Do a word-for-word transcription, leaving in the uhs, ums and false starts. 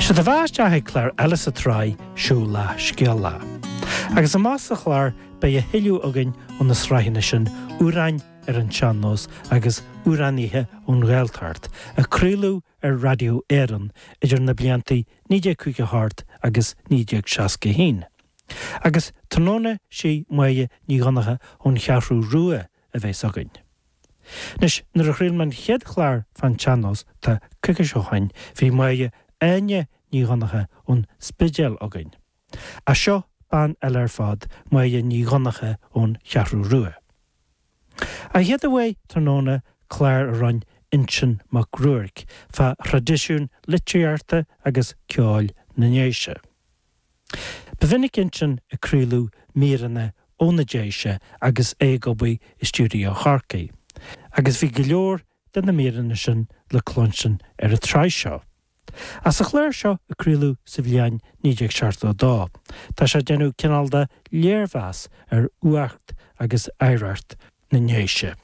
Séard a bheas isteach ag clár eile sa tsraith Seo Lá Scéal Lá. Agus amach sa chlár beidh a thuilleadh againn ó na sraitheanna sin Amhráin ar an Sean-Nós agus Amhránaithe ón Ghaeltacht, a craoladh ar Raidió Éireann idir na blianta naoi déag caoga a hocht agus naoi déag seasca a haon. Agus tráthnóna sí Máire Ní Dhonncha ón Cheathrú Rua a bheas againn. Anois, nuair a chraol mé an chéad chlár fán tsean-nós, tá coicís ó shoin, bhí Máire Áine Ní Dhonncha ón Spidéal againn. Ach seo bean eile ar fad, Máire Ní Dhonncha ón Cheathrú Rua. An chéad uair tráthnóna clár a rinne Uinseann Mac Ruairc fá thraidisiún litríochta agus ceoil na nDéise. Ba mhinic Uinseann ag craoladh míreanna ó na Déise agus é ag obair i stiúideo Chorcaí, agus bhí go leor de na míreanna sin le cluinstin ar an tsraith seo. Ach sa chlár seo a craoladh sa bhliain naoi déag seachtó a dó, tá sé ag déanamh cineál de léirmheas ar fhuacht agus oidhreacht na nDéise.